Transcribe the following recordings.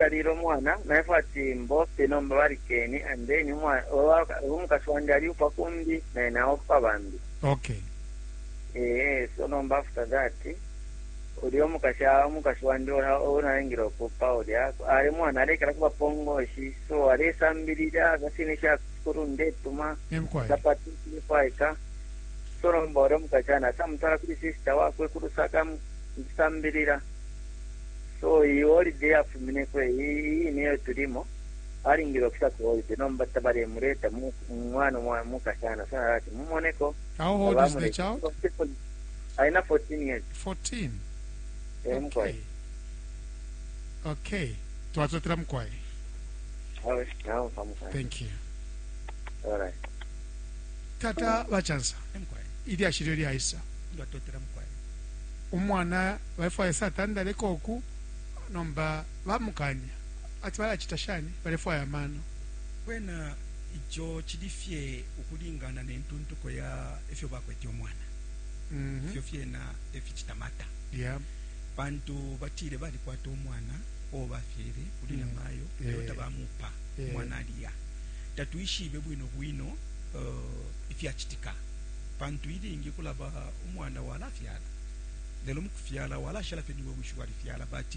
Alile umwana naifwe ati mbope nomba balikene and then umukashi wandi aliupa kumbi naye naopa bambi. Okay. Ee, so nomba after that ulya umukashi umukashi wandi uo nalingile ukupa ulya ali mwana alekala kuba pongoshi so alesambilila kasine sha sukulu ndetuma sapati filefwaika so nomba ulya umukashana asamutwala kuli sister wakwe ku Lusaka mukusambilila. So iyi holiday yafumineko iyi ine iyo tulimo alingile ukusa ku holiday nomba tabalemuleta mwana mukashana so ati mumoneko. How old is the child? Aina 14 years. 14. Eh, okay. Okay. Twatotela mukwai. Thank you. All right. Tata bachansa. Ilyashi lyo lyaisa. Umwana balefwaya ese atandaleko uku nomba bamukanya ati balacita shani balefwaya amano. Kwena ico cili fye ukulingana ne ntuntuko ya ifyo bakwete umwana. Mm -hmm. Ifyo fyena eficita mata. Yeah. Pantu batile balikwata umwana uo bafyele kuli mm. namayo lelo yeah. tabamupa yeah. umwana aliya. Tatwishibe bwino bwino uh, ifyacitika. Pantu ilingi kulaba umwana walafyala lelo mukufyala walashala fye niwe wishi walifyala but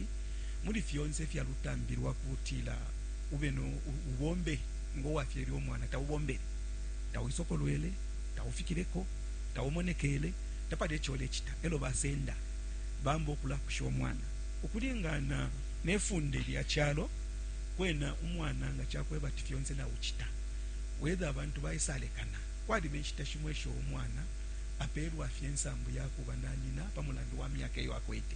muli fyonse ifya lutambi lwakutila ube no ubombe ngo wafyele umwana taubombele tauisokolwele taufikileko taumonekele tapali ico ulecita elo basenda bamba ukulakusha umwana ukulingana ne funde lya calo kwena umwana nga cakwebati fyonse naucita whether abantu baisalekana Kwaliba inshita shimo isho umwana apeelwa fye insambu ya kuba na nyina pa mulandu wa myaka iyo akwete,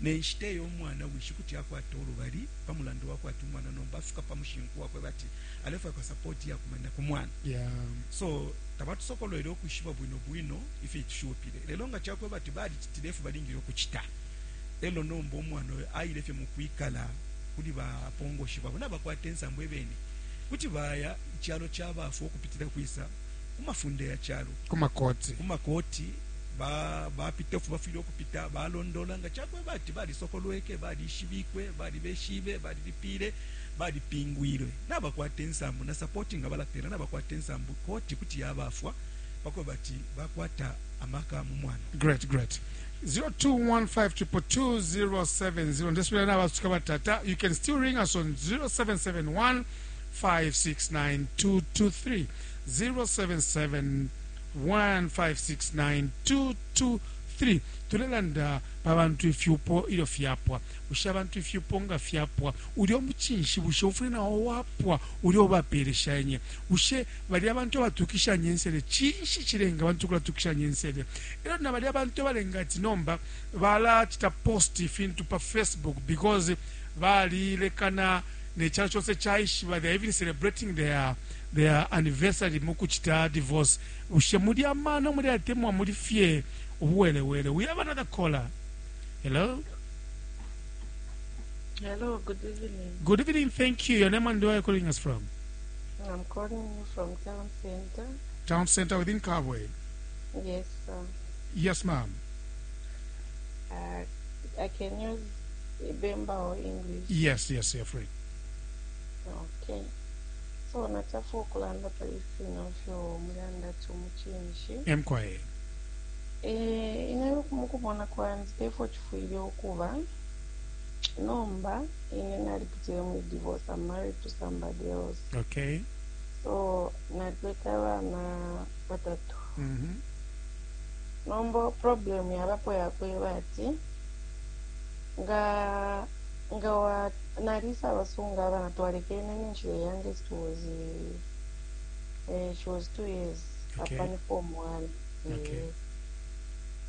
ne nshita iyo umwana wishi kuti akwata ulubali pa mulandu wa kwati umwana nomba afika pa mushinku wa kweba ati alefwaikwa sapoti iyakumanina ku mwana. Yeah. So tabatusokolwele ukwishiba bwino bwino ifyo itushupile, lelo nga cakweba ati balicitile ifyo balingile ukucita, elo nomba umwana uyo aile fye mu kwikala kuli bapongoshi babo nabakwata insambu ebene kuti baya icalo ca bafwa ukupitila kwisa ku mafunde ya calo ku makoti ku makoti ba bapita ifyo bafwile ukupita balondola nga cakweba ati balisokolweke balishibikwe balibeshibe balilipile balipingwilwe nabakwata insambu na sapoti nga balapela nabakwata insambu koti kuti yabafwa pakweba ati bakwata amaka mu mwana. Great, great. 0215222070 ndesubila nabasuka batata you can still ring us on 0771 569223 077 1569223 tulelanda pa bantu ifyupo ilyo fyapwa bushe abantu ifyupo nga fyapwa ulya umucinshi bushe ufwile nawo wapwa ulya ubapeeleshanye bushe balya abantu abatukishanya insele cinshi cilenga abantu ukulatukishanya insele elyo na balya abantu abalenga ati nomba balacita post ifintu pa facebook because balilekana ne calo conse caishiba they are even celebrating their their anniversary mukucita divorce bushe muli amano muli atemwa muli fye ubuwelewele we have another caller hello Hello, good evening. Good evening, thank you. Your name and where are you calling us from? I'm calling you from town center. Town center within Kabwe. Yes, sir. Yes, ma'am. Uh, I can use Bemba or English. Yes, yes, you're free. Okay. So natafu okulanda pali fino fyo mulanda ati umucinshi. Mkwaye. Eh, ine mukubona kwandi tefo chifwile ukuba nomba ine nalipitile muli divorce I'm married to somebody else okay so nalikwete abana batatu mm -hmm. nomba problem yabapo yakweba ati nga nga wa nalisa abasunga abana twalekene ninshi the youngest was eh, she was 2 years okay. apa ni form 1 okay. eh.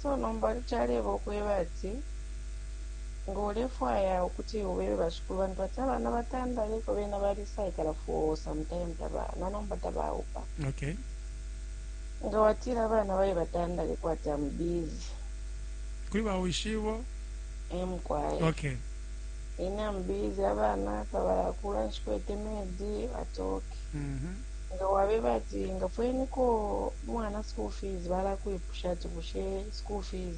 So nomba caleba ukweba ati nga ulefwaya ukuti ubebe bashikulu bantu ati abana batandaleko bena balisaikala for some time taba na nomba tabaupa. Okay. Nga watila abana baye batandaleko ati am busy. Kuli ba wishibo? Eh mukwai. Okay. Ine am busy abana tabalakula nshikwete maid ati okay. Mm -hmm. Nga wabeba ati ngafweniko umwana school fees balakwipusha ati bushe school fees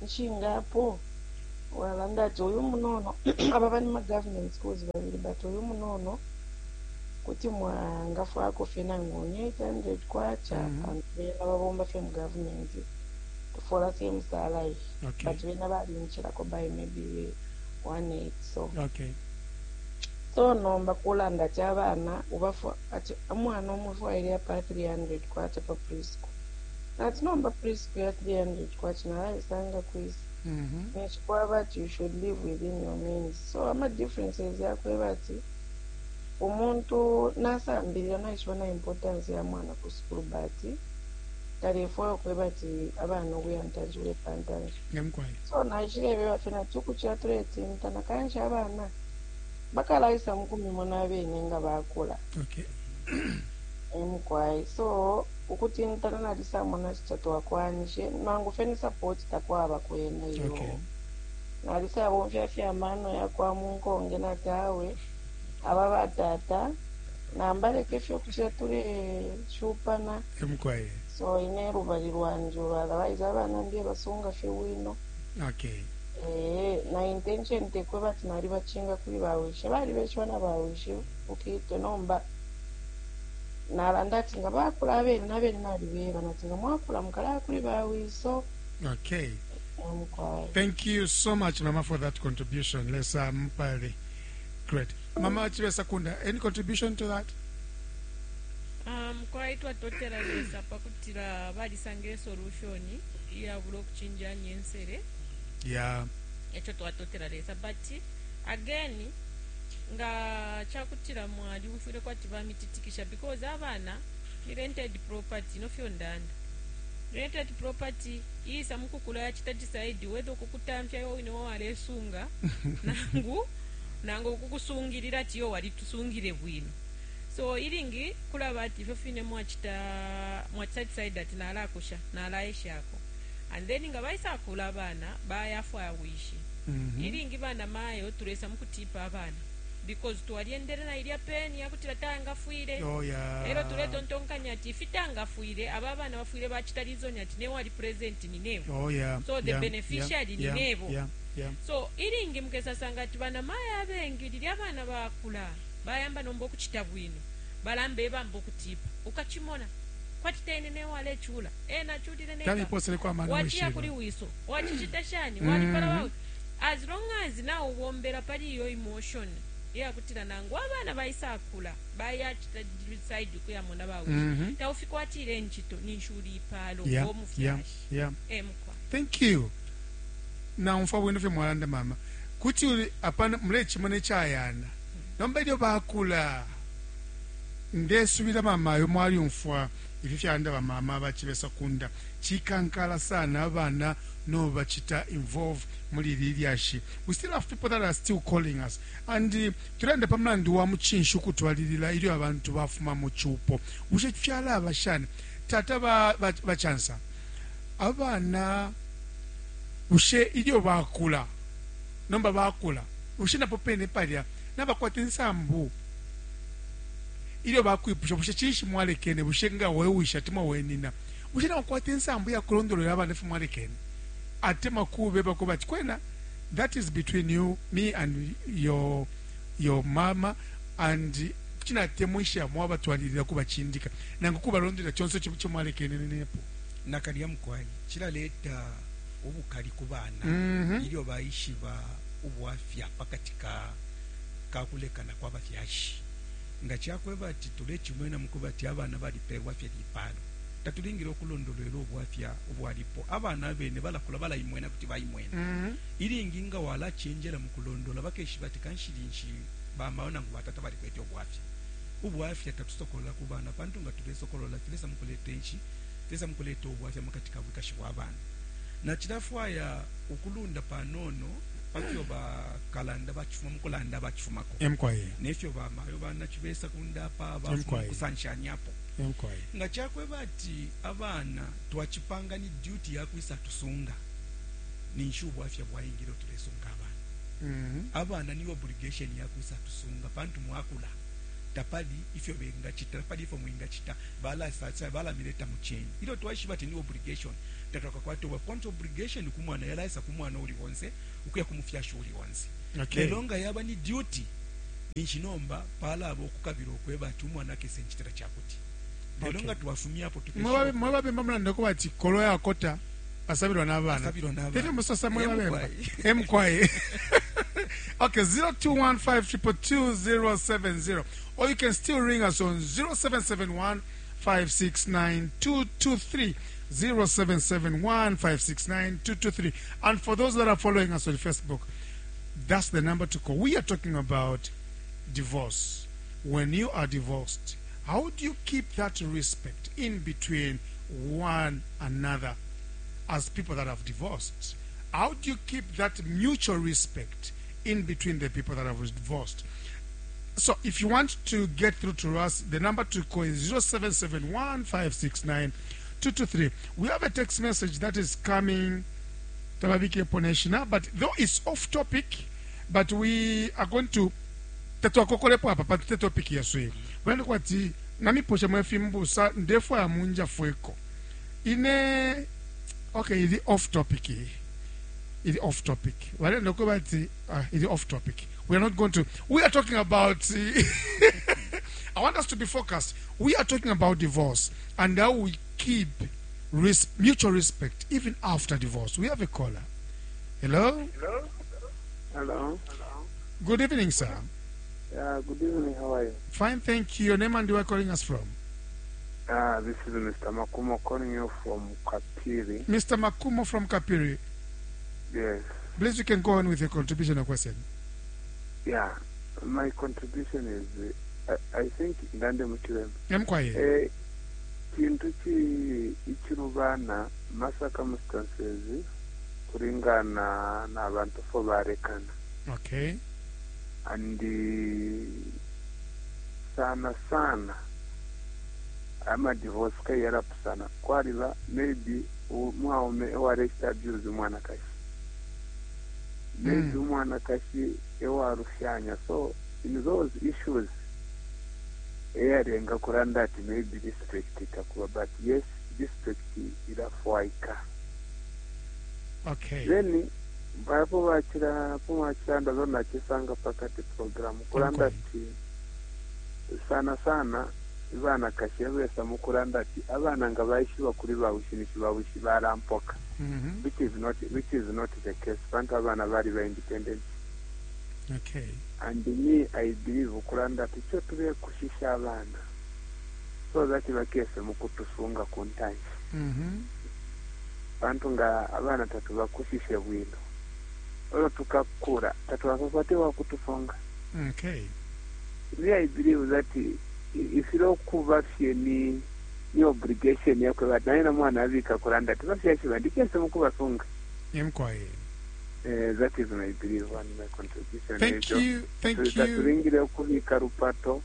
nshingapo? Walanda ati uyu munono aba bali ma government schools babili, but uyu munono kuti mwangafwako fye nangu ni 800 kwacha, pantu bena babomba fye mu government, tufola same salary. But bena balinchilako by maybe 1.8, so so nomba kulanda ati abana ubafwa ati umwana umufwaile apa 300 kwacha pa preschool. Nati nomba preschool ya 300 kwacha nalaisanga kwisa? Ninshi kwaba ati you should live within your means. So ama differences yakweba ati umuntu nasambilila, naishiba na importance ya mwana ku sukulu, but talefwaya ukweba ati abana ukuya ntanshi, ule pa ntanshi. Ngemkwai. So naishilebeba fye nati ukucila tuletintana, kanshi abana bakalaisa mukumimona abene nga bakula. Emukwai, so ukutintana nalisamona tatwakwanishe nangu fye ni support takwaba kwena iyo. Nalisabomfya fye amano yakwa munkonge, nati awe aba batata nambaleke fye ukucila tuleshupana. Emkwai. So ine lubali lwanje otherwise abana ndiye basunga fye bwino. Na intention tekweba ati nalibachinga kuli bawishe, balibeshiwa na bawishe ukitwe. Nomba nalanda ati nga bakula abene nabene nalibeba nati nga mwakula mukalaya kuli bawiso. Mukwai. Thank you so much, Mama, for that contribution. Lesa Mpali. Great. Mama Chibesa Kunda, any contribution to that? Kwai twatotela Lesa pakutila balisangile solution iyabula okuchinjanya ensere. Echo twatotela Lesa, but again nga chakutila mwali umfwile kwati bamititikisha, because abana ni rented property nofyo ndanda rented property isa mukukula yachita decide whether ukukutamfya iwe wine walesunga nangu ukukusungilira ati yo walitusungile bwino. So ilingi kulaba ati ifyo fine mwachita decide ati nalakusha nalaeshako, and then nga baisakula abana bayafwaya wishi. Ilingi bana mayo tulesa mukutipa abana because twaliendele na ilya peni yakutila tangafwile. Elo tuletontonkanya ati ifi tangafwile, aba bana bafwile bachita reason ati newe ali present ni newe. So the beneficiary ni nebo. So ilingi mukesasanga ati bana mayo abengi lili abana bakula bayamba nomba okuchita bwino, balamba ebamba okutipa ukachimona kwati tene newe alechula ena achulile neka. Kaliposele kwa mano wachiya weshiba. Kuli wiso wachichita shani walipala wawe, as long as nawe ubombera pali iyo emotion iyakutila nangu abana baisakula bayachita decide kuyamona bawishi, taufikwatile nchito ninshuli ipalo ngomufyashi. Emukwa. Thank you. Naumfwa bwino fye mwalanda mama. Kuti uli apana mulechimona echayana. Nomba ilyo bakula ndesubila mama yo mwaliumfwa ifi fyalanda bamama bachibesa kunda chikankala sana abana no bachita involve muli ili lyashi. We still have people that are still calling us and tulanda pa mulandu wa muchinshi ukutwalilila ilyo abantu bafuma mu chupo. Bushe fyalaba shani tata ba, ba, bachansa abana bushe ilyo bakula nomba bakula bushe napo pene palya nabakwata insambu ilyo bakwipusha bushe chinshi mwalekene, bushe nga wewisha atemwa wenina, bushe nabakwata insambu yakulondolola abana ifi mwalekene atemwa kubeba bati kwena that is between you, me and your mama, and chinatemwisha mwabatwalilila kubachindika nangu kubalondela chonse chimwalekene nepo? Nakalya mukwai, chilaleta ubukali ku bana ilyo baishiba ubwafya pakati ka kakulekana kwa bafyashi. Nga chakweba ati tulechimwena mukuba ati abana balipelwa fye lipalo, tatulingile okulondolwela ubwafya ubwalipo. Abana abene balakula balayimwena kuti bayimwena. Ilingi nga walachenjela mukulondola bakeshiba ati kanshi linshi bamayo nangu batata balikwete ubwafya. Ubwafya tatusokolola ku bana, pantu nga tulesokolola filesa mukuleta enshi, filesa mukuleta ubwafya mukati ka bwikashi bwa bana. Na chilafwaya ukulunda panono pafyo bakalanda bachifuma mukulanda bachifumako Emkwaye. Nefyo bamayo banachibesa kundapa bafuma Emkwaye. kusanshanyapo. Emkwaye. Nga chakweba ati abana twachipanga ni duty yakwisa tusunga, ninshi ubwafya bwaingile tulesunga abana. Abana ni obligation yakwisa tusunga pantu mwakula. Tapali ifyo bengacita, tapali ifyo mwingacita, balasasa balamileta mu chain. Ilyo twaishiba ati ni obligation, tatwakakwate ubwafya, pantu obligation ku mwana yalaisa ku mwana uli onse ukuya ku mufyashi uli onse. Okay. Lelo nga yaba ni duty, ninshi nomba palaba ukukabila ukweba ati umwana akese ncitila cakuti. Lelo Okay. nga twafumyapo tukeshiba Mwe babemba mulanda ko bati kolo yakota asabilwa n'abana. Asabilwa n'abana. Tete musosa mwe Eh, babemba. mukwai. Emkwaye. Okay, 0215222070 or you can still ring us on 0771 569223. 0771 569223. And for those that are following us on Facebook, that's the number to call. We are talking about divorce. When you are divorced, how do you keep that respect in between one another as people that have divorced? How do you keep that mutual respect in between the people that have divorced? So if you want to get through to us, the number to call is 0771 569 223. We have a text message that is coming Tababike Poneshina, but though it's off topic, but we are going to tatwakokolepo apa pantu te topic yesu iyi balanda kwati namiposha mwe fimbusa ndefwaya munjafweko ine okay ili off topic iyi ili off topic balanda ko bati ah, ili off topic we are not going to we are talking about I want us to be focused. We are talking about divorce and how we keep mutual respect even after divorce. We have a caller. Hello? Hello. Good evening, sir. Yeah, good evening. How are you? Fine, thank you. Your name and where you are calling us from? This is Mr. Makumo calling you from Kapiri. Mr. Makumo from Kapiri. Yes. Please, you can go on with your contribution or question. Yeah. My contribution is, I think, ndande muchiremba. Mkwaye. Eh, chintu chi ichilubana ma circumstances kulingana na bantu fo barekana. Okay. And sana sana ama divorce kai yarapusana kwaliba maybe umwaume ewarekita abuse umwanakashi maybe umwanakashi ewarufyanya so in those issues eyarenga kuranda ati maybe respect itakuba but yes respect irafwaika. Okay. Then vapo vachira pomachiranda zonachisanga pakati program kuranda Okay. ti sana sana ivana kashe vesa mukuranda ti avana nga vaishiva kuri vawishi nishi vawishi varampoka which is not the case vantu avana vari va independent. And me I believe kuranda ti cho tuve kushisha avana so that vakese mukutusunga kuntanshi vantu nga avana tatu vakushishe bwino olo tukakura tatu vakapate wakutufunga. Me I believe that ifiro kuva fye ni obligation yakwe but naye na mwana avika kuranda ti vafyashi vandikese mukuvasunga. Mkwaye. That is my belief and my contribution. Thank you. Thank you. Taturingire okubika rupato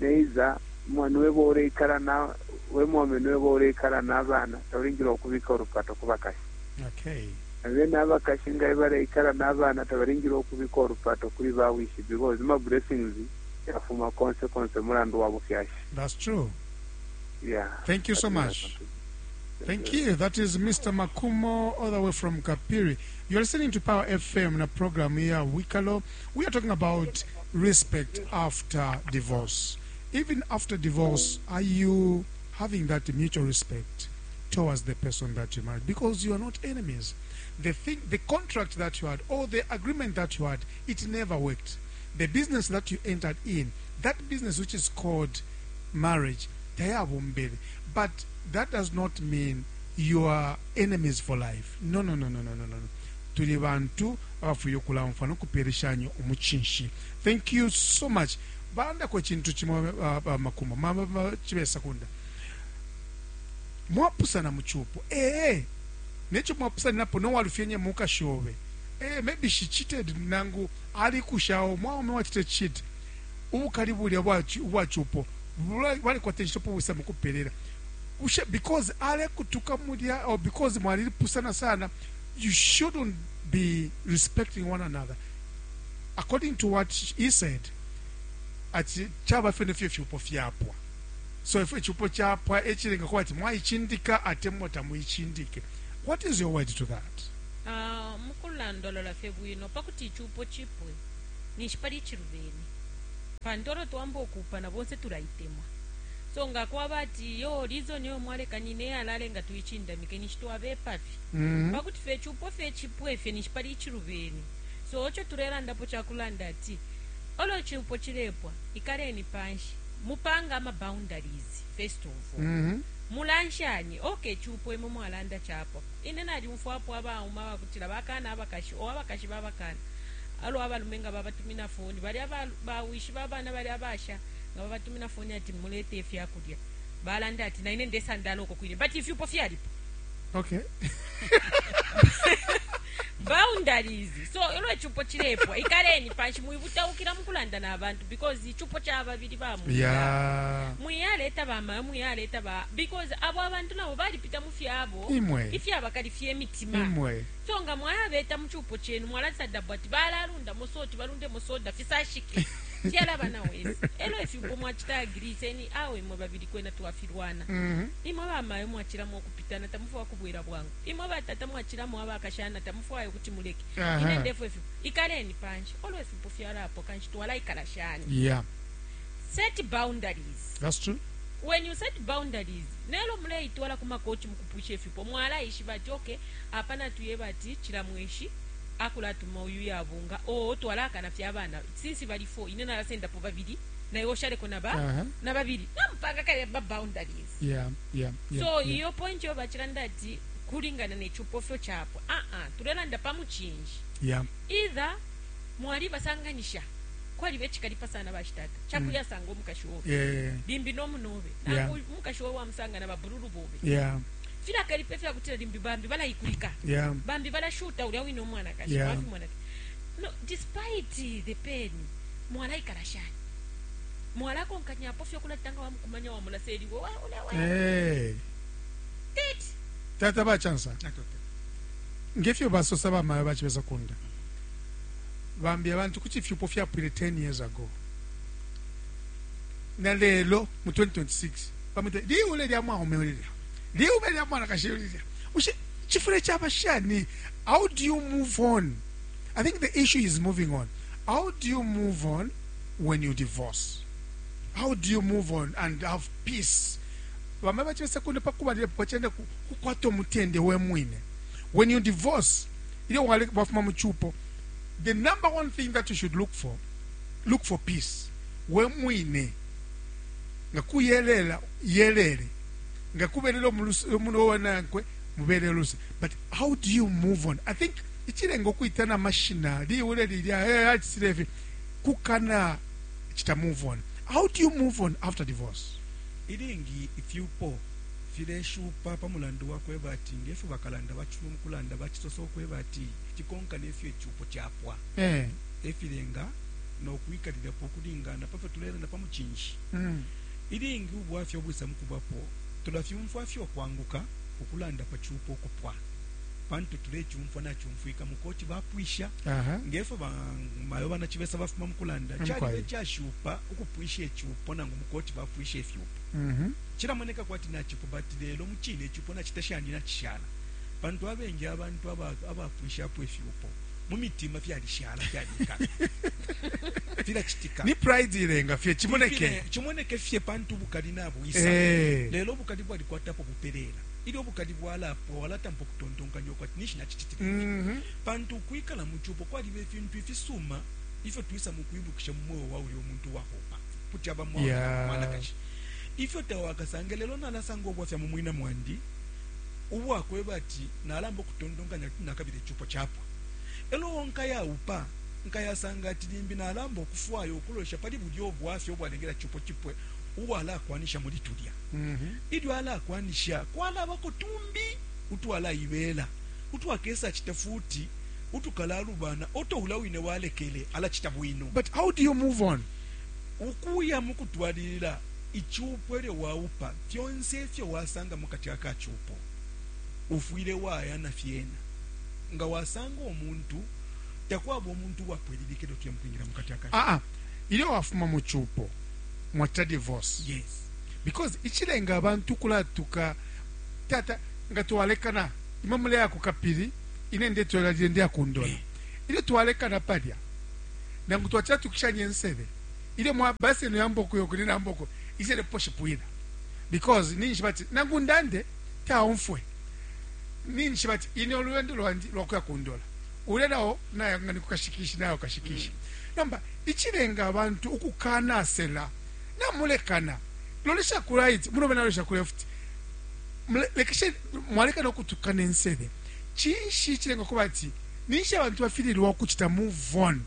neiza mwana weba oreikara na wemwome niweba oreikara n'abaana tauringire okubika orupato kubakashi. Abe n'abakashi nga bareikara n'abaana tabaringire okubika orupato kuri bawishi because ma blessings yafuma konse mulandu wa bufyashi. That's true. Yeah. Thank you so That is my much. contribution. Thank you. That is Mr. Makumo, all the way from Kapiri. You're listening to Power FM in a program here, Wikalo. We are talking about respect after divorce. Even after divorce, are you having that mutual respect towards the person that you married? Because you are not enemies. The thing, the contract that you had, or the agreement that you had, it never worked. The business that you entered in, that business which is called marriage, tayabumbele. But that does not mean you are enemies for life. No, no, no, no, no, no, no. Tuli bantu abafuye okulamfa nokupereshanya omuchinshi. Thank you so much. Bandako ekintu kimwe Makumo mama chibesa kunda. Mwapusana muchupo. Necho mwapusana napo no walufyenye mukashobe. Maybe she cheated nangu ali kushawo mwaume wachite cheat. Ubukali bulya bwachupo. Bali kwa tension busa mukuperera. Ushe because ale kutuka mulya or because mwalipusana sana, you shouldn't be respecting one another. According to what he said, Ati caba fye nefyo ifyupo fyapwa. So ifyo icupo capwa ecilenga kuba ati mwaicindika atemwa tamuicindike. What is your word to that? Ah, mukulandolola fye bwino, pa kuti icupo cipwe ninshi pali icilubene, pantu olo twamba ukuupana bonse tulaitemwa. So nga kwaba ati iyo reason iyo mwalekanine eyalalenga tuicindamike, ninshi twabepa fye. Pa kuti fye icupo fye cipwe fye ninshi pali icilubene. So ico tulelandapo cakulanda ati olo icupo cilepwa, ikaleni panshi mupange ama boundaries first of all. Mulanshanye, okay icupo imwe mwalanda capwa. Ine nalyumfwapo abaume abakutila bakana abakashi or abakashi babakana alo abalume nga babatumina foni balya ba, ba wishi ba bana balya abasha nga babatumina foni ati mulete ifyakulya balanda ati naine ndesandala uko kwine, but ifyupo fyalipo. Okay. Boundaries. So elo icupo cilepwa, ikaleni panshi, mwibutaukila mukulanda na bantu because icupo ca babili ba munda. Mwiyaleta ba mayo, mwiyaleta ba, because abo abantu nabo balipita mu fyabo Imwe. ifyabakalifya imitima. Imwe. So nga mwayabeta mu cupo cenu mwalasadabwa ati balalundamo soti, balundemo soda fisashike fyalaba na wese. Elo ifyupo mwacita agree seni awe imwe babili kwena twafilwana. Imwe ba mayo mwacilamo ukupitana tamufwaya kubwela bwangu. Imwe ba tata mwacilamo abakashana tamufwaya ukuti muleke. Ine ndefwa ifyupo. Ikaleni panshi. Olo ifyupo fyalapwa kanshi twalaikala shani? Set boundaries. That's true. When you set boundaries, nelo muleitwala ku makoti mukupwisha ifyupo, mwalaishiba ati okay, apa natuyeba ati cila mweshi akulatuma uyu yabunga, oo twalakana fye abana since bali 4, ine nalasendapo babili na iwe ushaleko na ba na babili, namupanga kale ba boundaries. So iyo point yo bacilanda ati kulingana ne cupo fyo chapwa, ah ah, tulelanda pa mucinshi. Either mwalibasanganisha, kwaliba icikalipa sana bashitata cakuyasanga umukashi obe limbi no munobe, nangu umukashi obe wamusanga na babululu bobe, filakalipa ifyakutila limbi bambi balaikulika, bambi balashuta ulya wine umwanakashi, wafimona. No, despite the pain, mwalaikala shani? Mwalakonkanyapo fye ukulatanga wamukumanya wamulaseliwe wa ule we. Hey. Tete. Tata ba chansa. Ngefyo basosa ba mayo bachibesa kunda. Bambi abantu kuti ifyupo fyapwile 10 years ago. Na lelo mu 2026 bamwita liule lya mwaume lilya. Liume lya mwanakashi lilya. Ushe chifule chaba shani? How do you move on? I think the issue is moving on. How do you move on when you divorce? How do you move on and have peace? Bamwe bachibesa kunda pakubalilepo bachenda kukwata umutende we mwine. When you divorce, ilyo wafuma mu chupo, the number one thing that you should look for, look for peace. We mwine nga kuyelela yelele, nga kubelela umuntu wanankwe mubelele luse. But how do you move on? I think ichilenga okuitana mashina liule lilya eh achisile ifi kukana chita move on. How do you move on after divorce? Ilingi ifyupo fileshupa pa mulandu wa kweba ati ngefyo bakalanda bacifuma mukulanda bacisosa ukweba ati cikonka nefyo icupo capwa efilenga no kwikalilapo ukulingana pafyo tulelanda pa mucinshi. Ilingi ubwafya ubwisa mukubapo tulafyumfwa fye ukwanguka ukulanda pa cupo ukupwa pantu tulecumfwa nacumfwika mukoti bapwisha ngefyo ba mayo bana cibesa bafuma mukulanda caliba icashupa ukupwisha icupo nangu mukoti bapwisha ifyupo. Cilamoneka kwati nacipo, but lelo mucine icupo nacita shani nacishala, pantu abengi abantu abapwishapo ifyupo mu mitima fyalishala fyalikala filacitika. Ni pride ilenga fye cimoneke, cimoneke fye pantu ubukali nabwisa. Lelo ubukali bwalikwatapo bupelela. Ilyo ubukali bwalapwa walatampa ukutontonkanya ukwati ninshi nacicitile pantu ukwikala mu cupo kwaliba ifintu ifisuma ifyo twisa mukwibukisha mu mweo wa ulya umuntu wakopa kuti aba mwaume mwanakashi ifyo tawakasange. Lelo nalasanga ubwafya mu mwina mwandi ubwakweba ati nalamba ukutontonkanya kuti nakabila icupo capwa, elo nkayaupa nkayasanga ati limbi nalamba ukufwaya ukulosha pali bulya ubwafya ubwalengela cupo cipwe uwalakwanisha muli tulya. Ilyo alakwanisha kwalabako tumbi utwalaibela utwakesa cita futi utukalalubana oto ula wine walekele alacita bwino. But how do you move on? Ukuya mukutwalilila icupo elyo waupa fyonse ifyo wasanga mukati aka cupo ufwile waya na fyena. Nga wasanga umuntu takwaba umuntu uwapwililika ilyo tuya mukwingila mukati aka Ah ah. Ilyo wafuma mu cupo, mwacita divorce. Yes. Because icilenga abantu ukulatuka, tata, nga twalekana, imwe muleya ku Kapili, ine ndetwalilile ndeya ku Ndola. Ilyo twalekana palya, nangu twacila tukishanye nsele, ilyo mwa basi yenu ya mboko yoko nina mboko, isele po shipwila. Because ninshi bati, nangu ndande, taumfwe. Ninshi bati, ine olwendo lwandi lwakuya ku Ndola. Ulya nao, nayo nga ni kukashikishi, nayo kashikishi. Nomba, icilenga abantu ukukanasela, namulekana, lolesha ku right, munobe nalolesha ku left. Lekeshe, mwalekana ukutukana insele. Cinshi icilenga kuba ati, ninshi abantu bafililwa ukucita move on,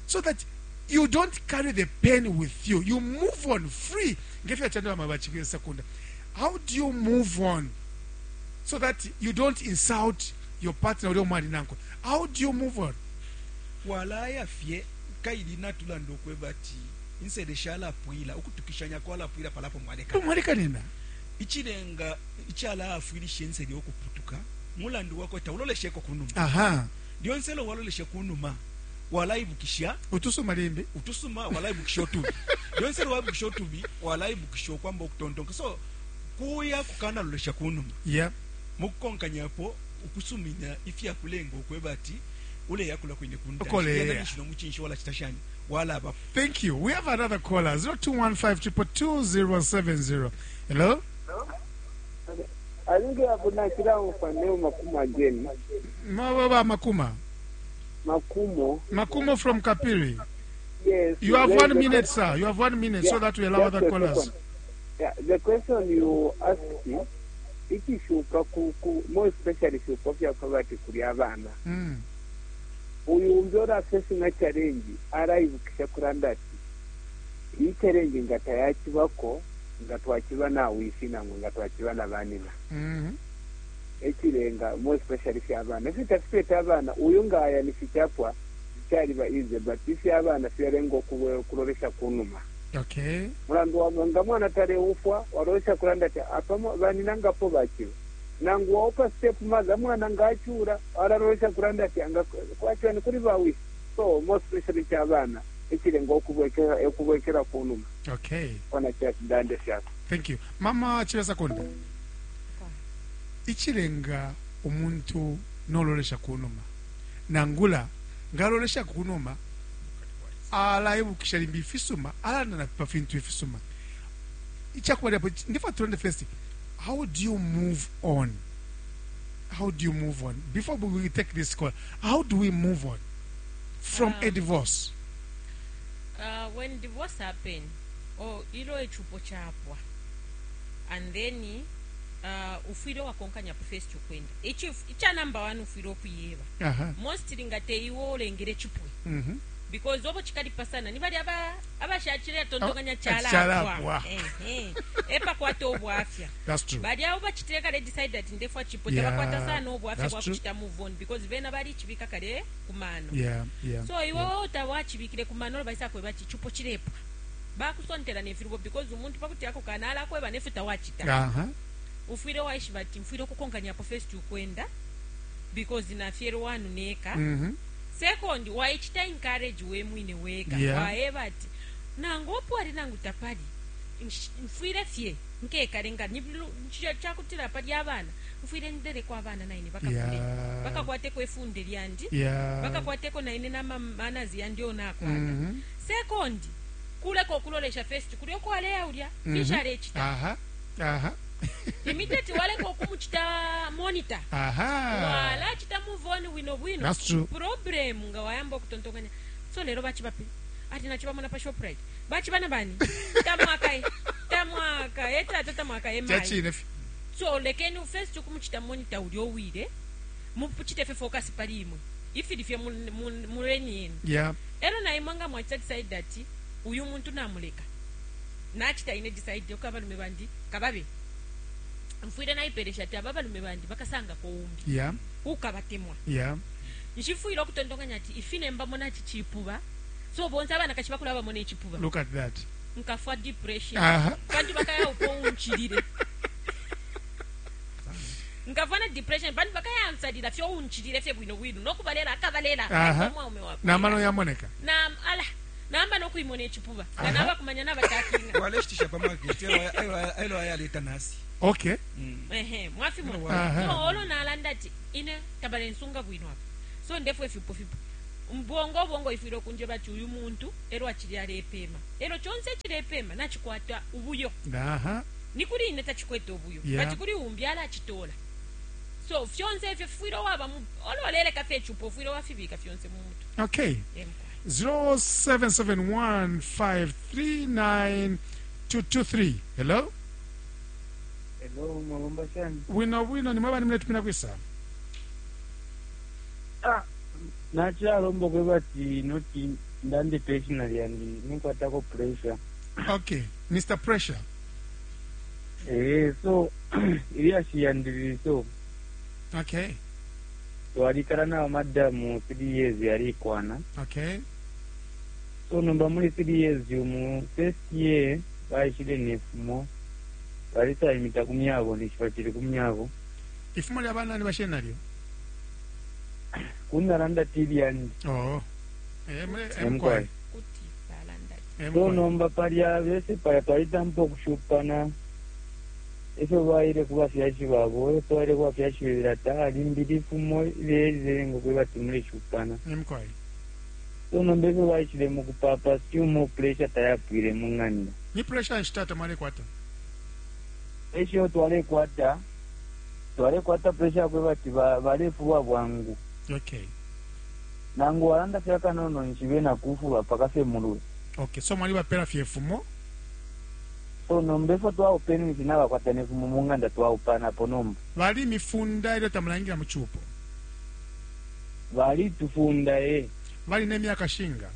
so that you don't carry the pain with you. You move on free. Ngefyo chando amabachi sekunda. How do you move on so that you don't insult your partner ulio mwali nanko? How do you move on? Walaya fye kaili natulanda okweba ati insele shalapwila ukutukishanya kwalapwila palapo mwaleka. Mwaleka nina. Ichilenga ichala afwilisha insele okuputuka mulandu wako taulolesheko kunuma. Aha. Lyonse lo waloleshe kunuma walaibukisha utusuma limbi utusuma walaibukisha otubi. Lyonse lo waibukisha otubi walaibukisha okwamba okutontonka. So kuya kukana lolesha kunuma. Yeah. Mukukonkanyapo ukusumina ifya kulenga okweba ati ule yakula kwine kunda. Okole. Yena nishino muchinshi wala chitashani wala abapo. Thank you. We have another caller. 0215 222 070. Hello? I think I have not seen Makuma again. Mababa Makuma. Makumo. Makumo from Kapiri. Yes. You have 1 minute, sir. You have 1 minute, yeah, so that we allow other callers. Yeah, the question you asked, it is more especially if you cover kuri abana. Uyu umbyora facing a challenge, araibukisha kuranda ati iyi challenge ngatayakibako ngatwakiba na wishi nango ngatwakiba na banina. Ekirenga more especially if abana. If tafite abana uyu ngaya ni fichapwa cyari ba easy but if abana fyarengo kuloresha kunuma. Okay. Mulandu wa ngamwana tare ufwa warosha kuranda ati apamo banina ngapo bakiba. Nangu waupa step mother mwana ngachura ararosha kuranda ati anga kwachwa ni kuri bawi. So more especially cyabana ekirengo okubwekera kunuma. Okay. Kwana cha ndande cyako. Thank you. Mama Chiresa Konde. Ichirenga umuntu noloresha kunuma. Nangula ngalolesha kunuma alaibukisha limbi ifisuma alanda na pafintu ifisuma. Ichakuwa hapo ndifa tuende first. How do you move on? How do you move on? Before we take this call, how do we move on from a divorce? When divorce happen, or ilo echupo chapwa, and then ufwile wakonkanya po first ukwenda. Icha number 1 ufwile okuyeba. Most lingate iwo olengere chipwe. Because obo chikali pasana ni bali aba abashachire tontonganya chala. Epa kwata obwafya. That's true. Bali abo bachitire kale decide that ndefwa chipo yeah, tabakwata sana obwafya bwa kuchita move on because bena bali chibika kale kumano. Yeah, yeah. So iwo yeah. Otawachibikire kumano baisa kweba chipo chirepa. Bakusontera nefirubo because umuntu pakuti yako kanala kweba nefuta wachita. Ufwile waishibati mfwile kukonkanya po first ukwenda because na fiero wanu neka. Second, waichita encourage we mwine weka. Yeah. Waeba ati nango opo ali nangu tapali. Mfwile fye nkekalenga chakutira pali abana. Mfwile ndere kwa abana naine bakakule. Yeah. Bakakwateko efunde lyandi. Yeah. Bakakwateko naine na manazi yandi onakwata. Second, kuleko okulolesha first kulyo kwaleya ulya. Fisha lechita. Aha. Aha. Immediately waleko kumuchita monitor. Aha. Wala chita move on wino wino. That's true. Problem nga wayamba okutontonganya. So lero bachibape. Ati nachibamona pa Shoprite. Bachibana bani. Tamwaka. Tamwaka. Eta tamwaka emai. Chachine. So lekeni first kumuchita monitor ulyo wile. Mupuchite fe focus pali imwe. Ifili fye muleni yenu. Yeah. Ero na imwanga mwachita decide that uyu muntu namuleka. Nachita ine decide okabalume bandi kababe. Mfwile naiperesha ati ababalume bandi bakasanga ko umbi. Yeah. Ukabatemwa. Yeah. Nshifwile okutontonganya ati ifine mbamona ati chipuba. So bonza abana kashibakula abamona echipuba. Look at that. Nkafwa depression. Aha. Bantu bakaya upo unchilire. Nkafwa na depression bantu bakaya ansalira fyo unchilire fye bwino bwino nokubalela akabalela. Aha. Na mano yamoneka. Na ala. Namba nokuimona icipuba nga nabakumanya nabatakinga. Waleshitisha pa market elo ayaleta nasi. Okay. Ehe, mwafimona. So olo nalanda ati ine tabalensunga bwino apa. So ndefwe fipo fipo. Mbongo bongo ifwile kunjeba ati uyu muntu elo achili alepema. Elo chonse chilepema nachikwata ubuyo. Aha. Ni kuli ine tachikwete ubuyo. Yeah. But kuli umbi alachitola. So fyonse ifyo fwile waba mu olo leleka fye chupo fwile wafibika fyonse mu mutu. Okay. 0771539223. Hello? Hello, mwabomba shani? Wino wino ni mwaba nimule kwisa. Ah, nachalomba kwebati noti ndande personal yandi ninkwatako pressure. Okay, Mr. Pressure. Eh, so ilyashi yandi so. Okay. Twalikala na madamu 3 years yalikwana. Okay. So nomba muli 3 years mu first year baishile nefumo. Balisa imita kumyabo nishipachili kumyabo. Ifumo lya bana ni bashena lyo. Kunalanda tili yandi. Oh. Mkwai. Kuti balanda. So nomba palya bese palya twalitampa okushupana. Efyo baile kubafyashi babo, efyo baile kubafyashi bebera ta limbili fumo ileze ngo kweba timule shupana. Mkwai. So nomba efyo baishile mu kupapa siumo pressure tayapwile mu ng'anda. Ni pressure nshitata mwale kwata. Esho twale kwata. Twale kwata pressure kweba ti balefuwa bwangu. Okay. Nangu walanda fyaka nono nshibe na kufuwa paka fe mulwe. Okay, so mwali bapera fyefumo. So nomba efo twaupeni nchinawa kwata nefumo mu ng'anda twaupana po nomba. Bali mifunda ile tamulangira mu chupo. Bali tufunda eh. Bali ne myaka shinga.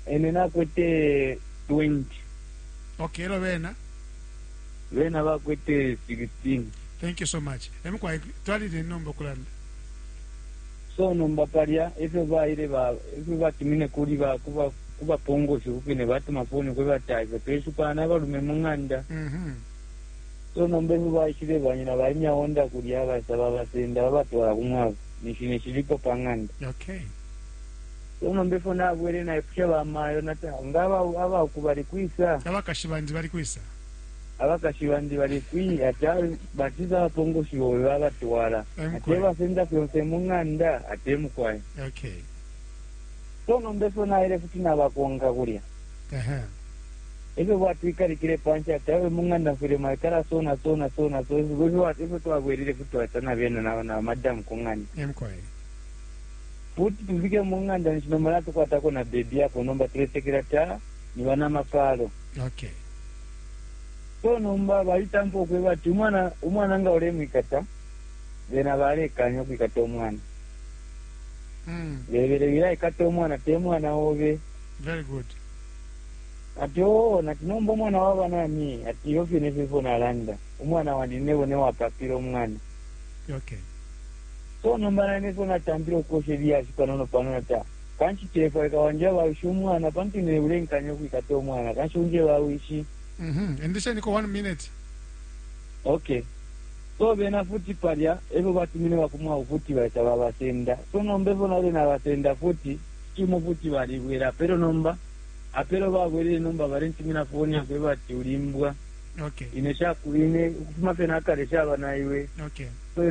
Ene nakwete 20. Okay, elo bena. Bena bakwete 16. Thank you so much. Emukwa twali ne nomba kulanda. So nomba palya efyo baile ba efyo batumine kuli ba kuba kuba pongo shukine batuma phone kweba taifa tweshupana balume mu ng'anda. So nomba efyo baishile banyina balimya onda kulya basaba basenda babatwala kumwabo nishine shiliko pa ng'anda. Okay. So nomba efyo nabwere naipusha bamayo nata ngaba abakubali kwisa. Abakashi bandi bali kwisa. Abakashi bandi bali kwi ata batiza abapongo shibo babatwala. Ate basenda fyonse mu ng'anda ate mukwaye. Okay. So nomba efyo naile futi nabakonka kulya. Ehe. Efyo batwikalikile panshi ati awe mu ng'anda mfwile mwaikala sona sona sona so efyo twabwerere futi twatana bena na madamu ku ng'anda. Mukwaye. Futi tufike mu ng'anda nishinomala tukwatako na bebi yako nomba tulesekera ta ni bana mapalo. Okay. So nomba balitampa okweba ati umwana nga olemwikata bena balekanya okwikata omwana. Bebere biraikata omwana te mwana obe. Very good. Ati oo nati nomba omwana waba nani ati iyo fyene fifo nalanda omwana wandi nebo newapapira omwana. Okay. So nomba nane fo natambira okukosha ebyashi panono panono ta kanshi tefaika wanje bawishi omwana pantu nebulenkanya okwikata omwana kanshi unje bawishi. Endesha niko 1 minute. Okay. So bena futi palya efyo batumine bakumwa futi baita babasenda. So nomba efyo nale nabasenda futi kimo futi balibwera apero nomba apero babwerere nomba balentumina foni yakwe bati ulimbwa. Okay. Ine shakuine ukufuma fye nakale shaba naiwe. Okay. So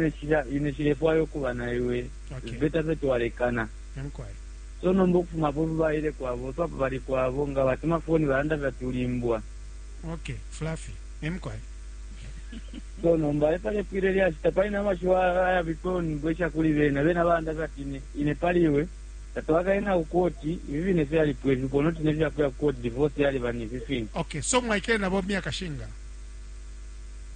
ine shilefwayo kuba naiwe. Okay. Beta fye twalekana. Mkwai. So nomba ukufuma po baile kwabo so bali kwabo nga batuma foni balanda bati ulimbwa. Okay, Fluffy. Mkwai. So nomba epale pwile lyashita palina amashiwa aya biponi bwesha kuli bena bena banda bati ine paliwe tatwakaena kukoti ibi bine fyalipwe bipono tine fyakuya kukoti divorce yali bani fifini. Okay, so mwaikele nabo myaka shinga.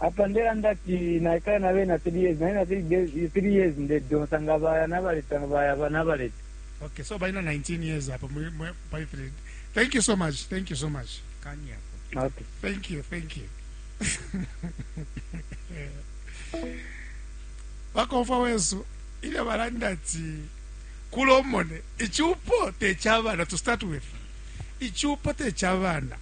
Apa ndera ndati naikale na bena 3 years naina 3 years ndedonsa nga baya nabaleta baya nabaleta. Okay, so baina 19 years apa by 3. Thank you so much. Thank you so much. Kani hapo. Okay. Thank you, thank you. Bakomfa wesu ile balanda ati kulomone ichupo techabana to start with ichupo techabana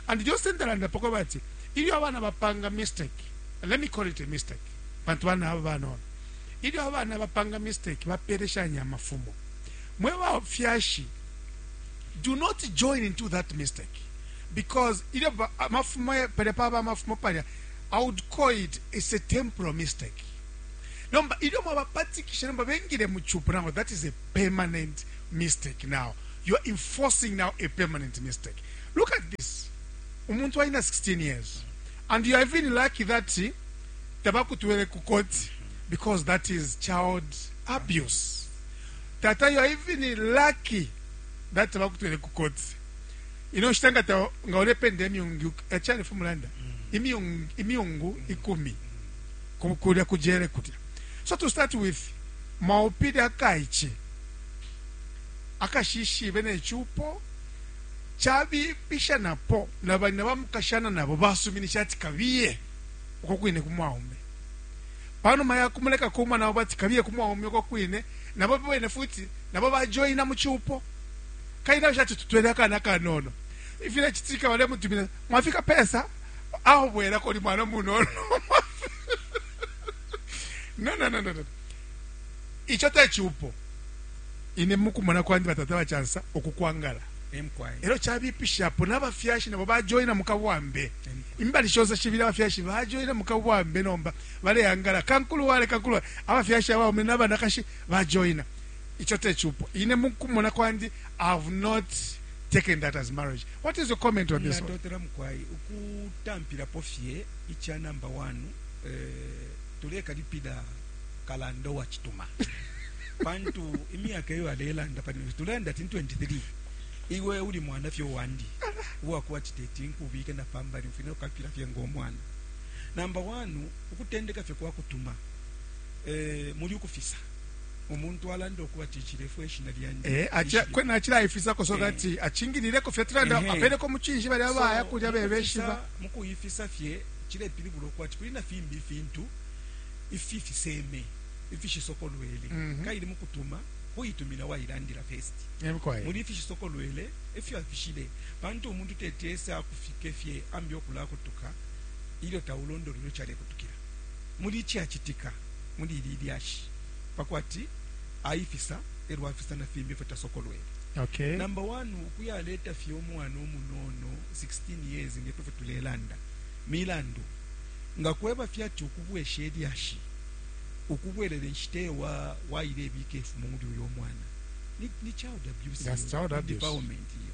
and just ndalanda poko bati ilyo abana bapanga mistake, let me call it a mistake bantu bana abo banono ilyo abana bapanga mistake bapereshanya amafumo mwe bafyashi. Do not join into that mistake because ilyo amafumo palya paba amafumo palya, I would call it it's a temporal mistake. Nomba ilyo mwabapatikisha nomba bengile mu cupo now that is a permanent mistake now. You are enforcing now a permanent mistake. Look at this. Umuntu aina 16 years and you are even lucky that tabakutwele ku court because that is child abuse. Tata, you are even lucky that tabakutwele ku court. Ino nshita nga ta nga ulependa imyungu echani fumulanda imyungu imyungu ikumi kulya kujele kulya. So to start with mwaupile akaiche akashishibe ne chupo chabipisha napo na banyina bamukashana nabo basuminisha ati kabiye uko kwine kumwaume panuma ya kumuleka kuma nabo bati kabiye kumwaume uko kwine nabo bene futi nabo bajoina mu chupo kaina shati tutwele akana kanono ifile chitika bale mutumina mwafika pesa aho bwera koli mwana munono no no no no no icho techupo ine mukumona kwandi batata bachansa okukwangala elo chabipishapo n'abafyashi nabo bajoina mukabwambe imbali shonse shibili abafyashi bajoina mukabwambe nomba baleyangala kankulu wale kankulu abafyashi abaume n'abanakashi bajoina icho techupo ine mukumona kwandi I have not taken that as marriage. What is your comment on this one? Natotela mukwai ukutampirapo fye icha number 1 tulekalipila kalando wa chituma pantu imyaka iyo alelanda pali tulenda 23 iwe uli mwana fye wandi uwakuwa chiteti nkubike na pambali mfine ukapila fye ngomwana. Number 1 ukutendeka fye kwa kutuma muri ukufisa umuntu alanda okuba chichirefu eshina lyandi acha kwena achira ifisa ko so that achingilireko fye tulanda apeleko muchinji bali abaya kulya bebeshiba mukuyifisa fye chilepilibula kwati kulina fimbi fintu ififiseme ifishisokolwele kaili mukutuma kuyitumina wayilandira first muri ifishisokolwele ifyo afishile pantu umuntu tetesa akufike fye ambi okula kutuka ilyo taulondolelo chale kutukira muri chiachitika muri ililyashi pakwati aifisa ero afisa na fimbi fatasokolwele. Okay. Number 1 ukuyaleta fye omwana omunono 16 years ngepefe tulelanda milandu ngakweba fyati ukubwesha elyashi ukubwelele nshite wa wailebike ifumo muri uyo mwana ni child abuse. That's child abuse. Defilement iyo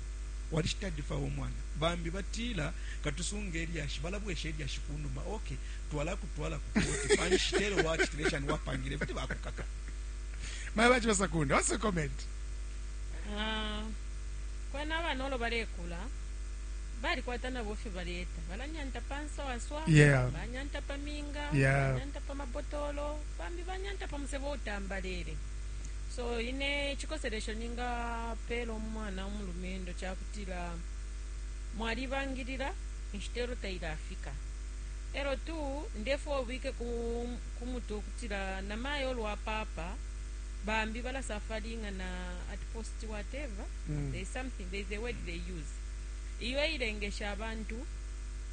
walishita defile omwana bambi batila katusunga elyashi balabwesha elyashi kunuma okay twala kutwala kukoti panshitelo wachitileshani wapangile futi bakukaka. Mai bachibasakunda, what's the comment? Kwena abana olo balekula balikwata nabo fye baleta balanyanta panswaswa, yeah. Banyanta paminga, yeah. Banyanta pamabotolo bambi banyanta pamusebo utambalele. So ine chikoselesho ninga pelo omwana omulumendo chakutila mwalibangilira nshitero tailafika ero tu ndefo obike kumutu okutila namayo olwa papa bambi balasafaringa na at post whatever. There is something, there is a word they use iyo ilengesha abantu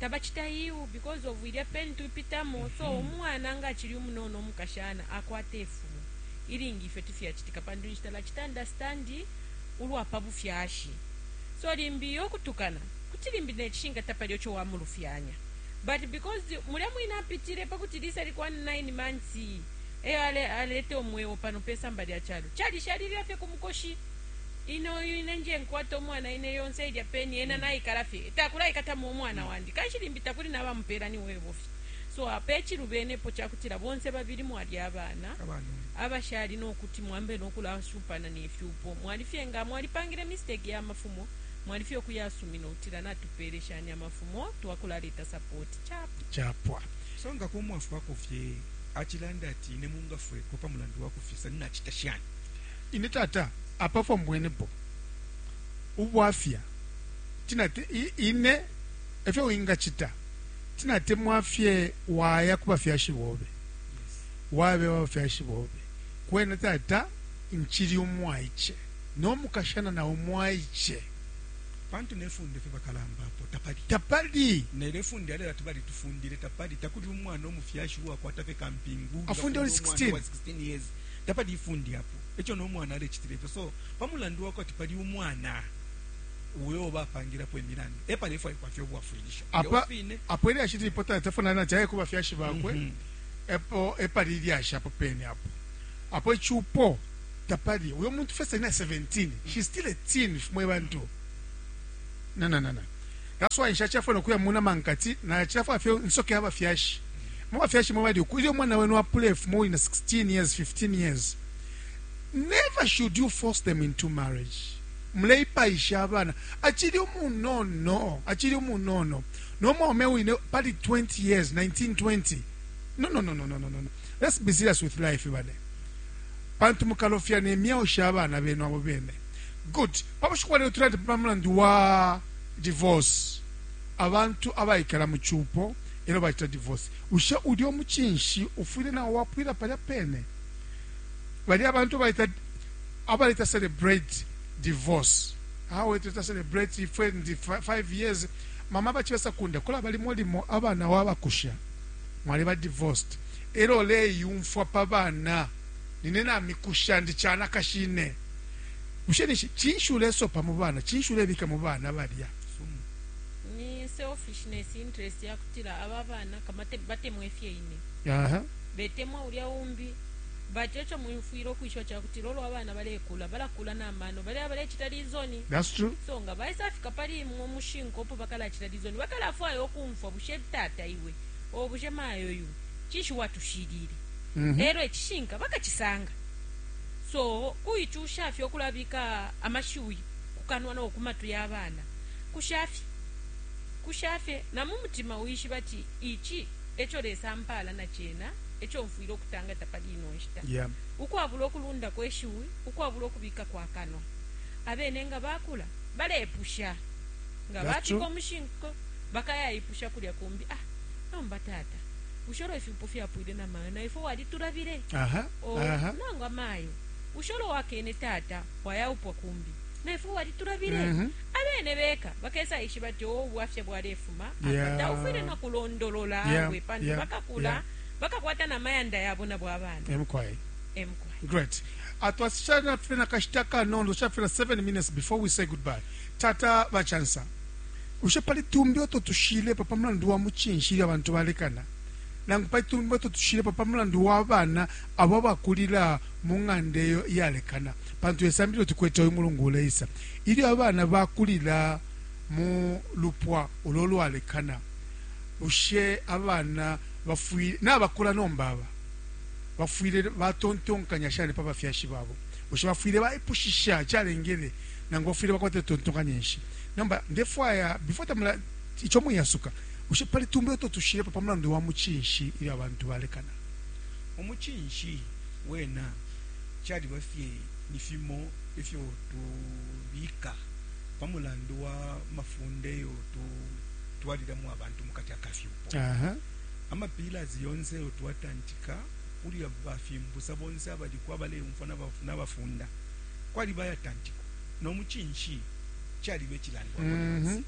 tabachita iyu because of ilya pen tupitamo. So omwana nga achili omunono omukashana akwata efumu ilingi ife tifyachitika pantu nshitala chita understand ulwapa bufyashi. So limbi yokutukana kuti limbi nechishinga tapali ocho wamulufyanya but because mulya mwina apitire pakuti lisa likuwa 9 months eyo alete omwewo pano pesamba lya chalo chalishalilira fye kumukoshi ino ine nje nkwata omwana ine yonse ilya peni ena naikala fye takulaikatamo omwana wandi kanshi limbi takuli nabamupera ni webofi. So apechilubenepo chakutira bonse babili mwali abana abashali nokuti mwambe nokulasupana nefyupo mwalifye nga mwalipangire mistake ya mafumo mwalifye okuyasumina otira natupereshanya amafumo twakulaleta support chapwa chapwa. So nga kumwafu wako fye achilanda ati ine mungafwe kopa mulandu wakufisa ninachita shani ine tata apafo mbwenepo ubwafya tinate ine efyo wingachita tinate mwafye waya kubafyashi bobe. Yes. Wabe wabafyashi bobe kwena tata nchili umwaiche nomukashana na umwaiche pantu nefunde fye bakalamba apo tapali tapali nelefunde alera tubali tufundire tapali takuli umwana omufyashi uwakwata fye kampingu afunde oli 16 16 years tapali ifundi apo echo nomwana alechitire so pamulandu wako ati pali umwana Uyo bapangilapo imilandu epalefwaikwa fye ubwafwilisho. Apa apo ilyashi lilipo tafuna na chaye kuba fyashi bakwe. Epo epali ilyashi apo pene apo. Apo ichupo tapali uyo muntu first na 17, she's still a teen, mwe bantu. No, no, no, no. That's why nshachafuna kuya muna mankati na chafwa fye nsoke abafyashi. Mu bafyashi mwe bali uyo mwana wenu apule fumo na 16 years, 15 years. Never should you force them into marriage. Muleipaisha abana. Achili umunono, achili umunono. No mwaume wine pali 20 years, 19, 20. No, no, no, no, no, no, no. Let's be serious with life bane. Pantu mukalofya ne myao sha abana benu abo bene. Good. Pabushiku lero tulati pa mulandu wa divorce. Abantu abaikala mu chupo elo bachita divorce. Ushe uli omuchinshi ufwile na wapwila palya pene. Bali abantu baita abaleta celebrate divorce. How it is celebrate if 5 years mama bachibesa kunda kula bali molimo abana wabakusha. Mwali ba divorced. Elo le yumfwa pa bana. Nine na mikusha ndi chana kashine. Ushe ni chinshi ulesopa mu bana, chinshi ulebika mu bana balya. Ni selfishness interest ya kutila aba bana kama batemwe fye ine. Aha. Betemwa ulya umbi. Bachecho muimfuiro kuisho cha kutila olo abana balekula, balakula na mano, bale abalechita lizoni. That's true. So nga baisa fika pali mu mushinko opo bakala chita lizoni, bakala fwayo okumfwa bushe tata iwe. O bushe mayo yu. Chinshi watushirire. Ero echishinka bakachisanga. So kuichusha fyo kulabika amashuyi kukanwa no kumatu y'abana. Kushafi. Kushafe na mu mutima uishi bati ichi echo lesa mpala na chena echo mfuiro kutanga tapali ino nshita. Yeah. Ukwabula okulunda kweshiwi, ukwabula okubika kwa kanwa. Abene nga bakula balepusha. Nga bafika omushinko bakayayipusha kulya kumbi. Ah, nomba tata. Ushoro ifipo fyapwile na mayo na ifo waliturabire. Aha. Aha. Nangwa mayo. Ushoro wakene tata wayaupwa kumbi. Na ifo waliturabire. Abene beka bakesa ishi bati o bwafya bwarefuma. Yeah. Ata ufwile na kulondolola Yeah. we pantu Yeah. bakakula Yeah. bakakwata na mayanda yabo na bwabana. Emkwai. Emkwai. Great. Atwasishana fena kashitaka nondo shafena 7 minutes before we say goodbye. Tata bachansa. Ushe pali tumbi oto tushile papa mlandu wa muchinshi abantu balekana. Nangu pali tumbi oto tushile papa mlandu wa bana abo bakulira mu ng'anda eyo iyalekana. Pantu esambilo tukwete oyu mulungu uleisa. Ilyo abana bakulira mu lupwa ololwalekana. Ushe abana bafwile nabakula nombaba. Bafwile batontonkanya shane pa bafyashi babo. Ushe bafwile baipushisha chalengele nangu bafwile bakwate tontonkanya nshi. Namba ndefwaya before tamula icho muyasuka. Ushe pali tumbe to tushire pa mulandu wa muchinshi ili abantu balekana. Omuchinshi wena chali bafye ni fimo ifyo tubika pa mulandu wa mafunde yo tu twalira mu abantu mukati akafyupo. Aha. Amapillars yonse yo twatantika uli bafimbusa bonse abali kwa bale umfana nabafunda. Kwali bayatantiko. No muchinshi chali bechilandwa.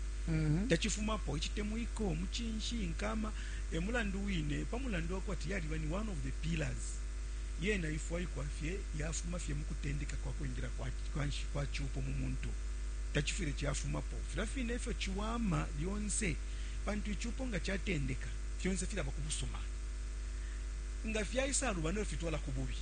Tachifumapo ichitemuiko muchinshi nkama emulandu wine pa mulandu wakwati yali bani one of the pillars. Yena ifwa ikwafye yafuma fye mukutendeka kwa kuingira kwa kwa chupo mu muntu. Tachifire chafumapo. Filafine ifyo chiwama lyonse pantu ichupo nga chatendeka fyonse filaba kubusuma. Nga fyaisa rubano fitwala kububi.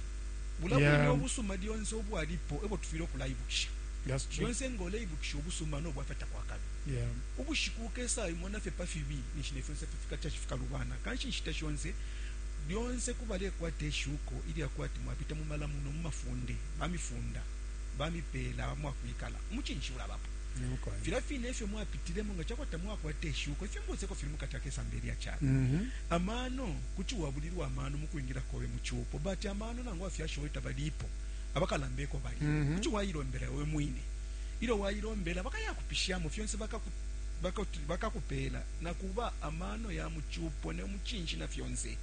Bulabu Yeah. obusuma lyonse obwalipo ebo tufire okulaibukisha. That's true. Lyonse ngole ibukisha obusuma no bwafata kwa kabi. Yeah. Ubushiku kesa imona fe pafibi nishine fyonse fifika chafika rubana. Kanshi nshita shonse lyonse kubale kwate shuko ili akwati mwapita mu malamuno mu mafunde bamifunda bamipela mwakwikala muchinshi ulabapo. Filafine ifyo mwapitiremo nga chakwata mwakwate shuko ifyo mbose ko filimu katake samberi ya chana. Amano kuti wabulirwa amano mukuingira kowe muchupo but amano nango afyashoita balipo abakalambeko bali. Kuti wayilombera we mwine. Ilo wayilombera bakayakupishamo fyonse bakakupela na kuba amano ya muchupo ne muchinshi na fyonse.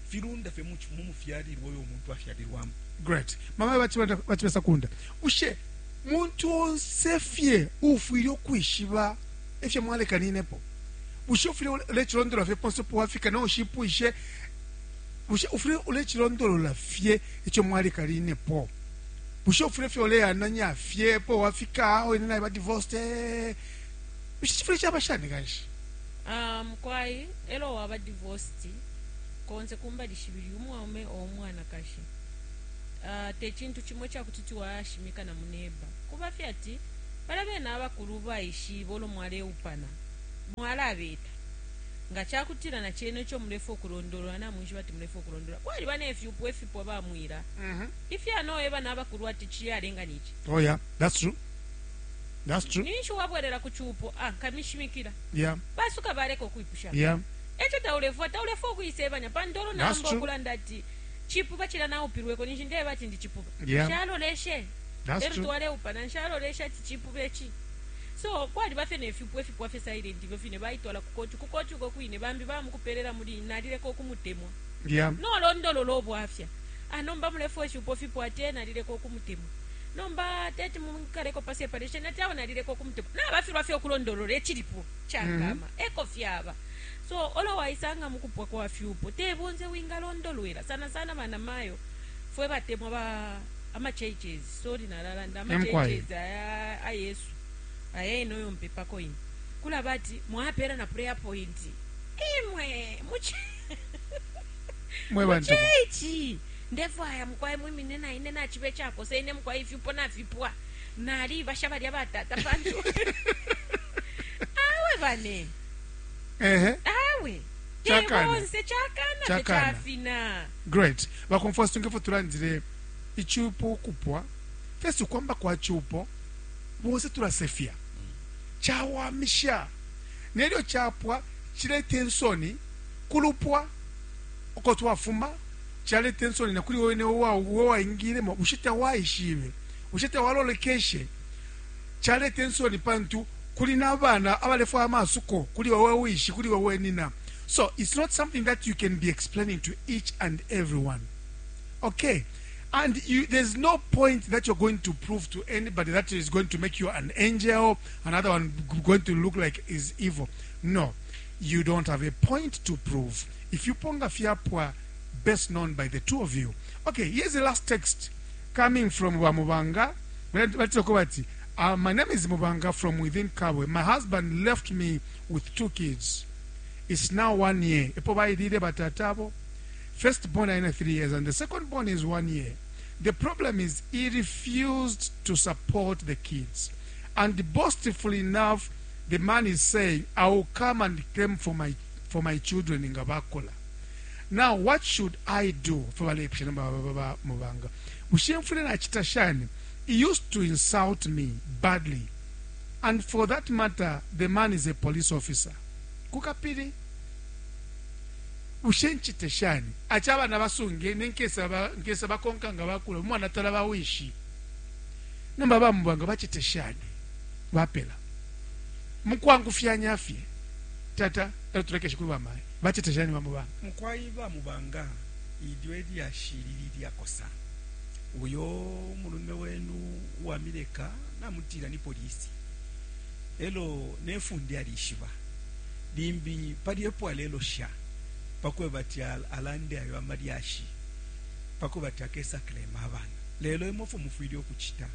Filunda fe mu mufyalirwa oyo omuntu afyalirwamu. Great. Mama bachibesa kunda. Ushe muntu onse fye ufwile okwishiba efye mwalekaninepo. Ushe ufwile ulechilondolola fye ponse po wafika na ushipwishe. Ushe ufwile ulechilondolola fye echo mwalekaninepo. Bushe ufwile fye uleananya fye po wafika aho ine naiba divorced eh. Bushe chifwile chaba shani kanshi? Mukwai elo waba divorced konse kumbali shibili umwaume o umwanakashi te cintu cimo icakuti kuti wayashimika na muneba. Kuba fye ati balya bene abakulu baishibe ulo mwaleupana, mwalabeta. Nga cakutila na cena ico mulefwaya ukulondolola namwishiba ati mulefwaya ukulondolola. Kwaliba ne fyupo ifipwa bamwila ifya noeba na bakulu ati ciyalenga ni ci. Oh yeah, that's true. That's true. Ninshi wabwelela ku cupo, ah, nkamishimikila. Basuka baleka ukwipusha. Eco taulefwaya, taulefwaya ukuisebanya pantu ulo That's naamba true. ukulanda ati cipuba cilya naupilweko ninshi ndeeba ati ndi cipuba. Nshaloleshe. That's Elo true. twaleupana nshaloleshe ati cipuba ici. So kwaliba fye ne fyupo ifipwa fye silent ifyo fine baitwala ku koti, ku koti uko kwine bambi bamukupelela muli nalileka ukumutemwa. Nolondolola ubwafya. Ah nomba mulefwaya ifyupo fipwa ati ee nalileka ukumutemwa. Nomba teti munkaleko pa separation ati awe nalileka ukumutemwa. Nabafilwa fye ukulondolola icilipo cakama. Eko fyaba. So olo waisanga mukupwa kwa fyupo te bonse wingalondolwela sana sana banamayo fwe batemwa ba ama churches sorry nalalanda ama Emkwai. churches aya a Yesu aya eno yo mpepako ine kulaba ati mwapela na prayer point imwe muchi Mwe bantu. Muchechi ndefwaya mukwai mwimine na ine nachibe chakosa ine mukwai ifyupo nafipwa nali basha balya batata pantu awe bane Ehe. Awe. Chakana. Bonse chakana Chakana. chafina. Great. Bakomfwa situnge tulandile ichupo kupwa. Fesi kwamba kwa chupo bonse tulasefya. Chawamisha. Nelyo chapwa chilete nsoni kulupwa uko twafuma chalete nsoni na kuli wewe wa waingilemo ushita waishibe ushita walolekeshe chalete nsoni pantu kuli nabana abalefwa amasuko kuli wewe wishi kuli wewe nina. So it's not something that you can be explaining to each and everyone. Okay. And there's no point that you're going to prove to anybody that is going to make you an angel, another one going to look like is evil. No, you don't have a point to prove. If you ponga fiapwa, best known by the two of you. Okay, here's the last text coming from Wamubanga. My name is Mubanga from within Kabwe. My husband left me with 2 kids. It's now 1 year. First born is 3 years and the second born is 1 year. The problem is he refused to support the kids. And boastfully enough, the man is saying, I will come and claim for my children in Gabakola. Now, what should I do? He used to insult me badly. And for that matter, the man is a police officer. Kukapiri. Ushenchite shani achaba nabasunge nenkesa nkesa bakonka nga bakula umwana tala bawishi namba bamubanga bachite shani bapela mukwangu fyanya fye tata tulekeshe kuba mai bachite shani bamubanga mukwayi bamubanga idwe lya shiriri lya kosa uyo mulume wenu wa mileka namutira ni polisi elo nefundi alishiba limbi pali epo alelo sha pakwe bati alande ayo amalyashi pakwe bati akesa claim abana lelo imofu mufwile okuchita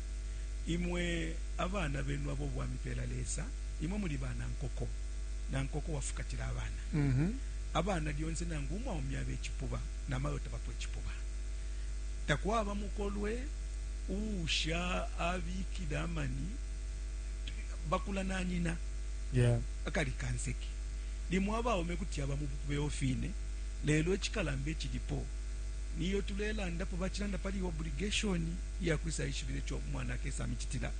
imwe abana benu abo bwamipela lesa imwe muli bana nkoko na nkoko wafukatira abana abana lyonse nangu umwaumya bechipuba namayo tabapwe chipuba takwaba mukolwe usha abikira amani bakula nanyina akali kanseki limwe abaume kuti aba mubeo fine lelo echikalambe chilipo niyo tulelanda po bachilanda pali obligation ya kwisa ishibile cho mwana kesa michitila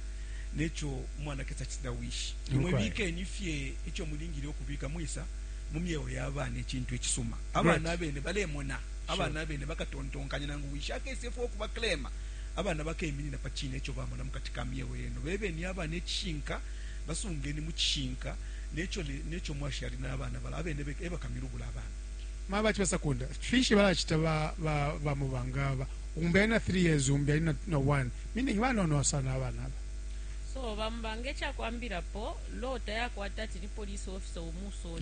necho mwana kesa chitila wishi imwe bike nifye icho mulingire okubika mwisa mumyeyo yabana echintu echisuma abana bene balemona abana bene bakatontonkanya nangu wishi akese fo kuba claim abana bakeminina pachine echo bamona mukatika myeyo yeno bebe ni abana echinka basungeni muchinka necho necho mwashali nabana bala abene eba kamirubula abana maba chipesa kunda fishi bala chita ba ba, ba mubanga ba umbe na 3 years umbe na 1 meaning bana no sana abana ba so bambange cha kwambira po law tayakwata ati ni police officer umuso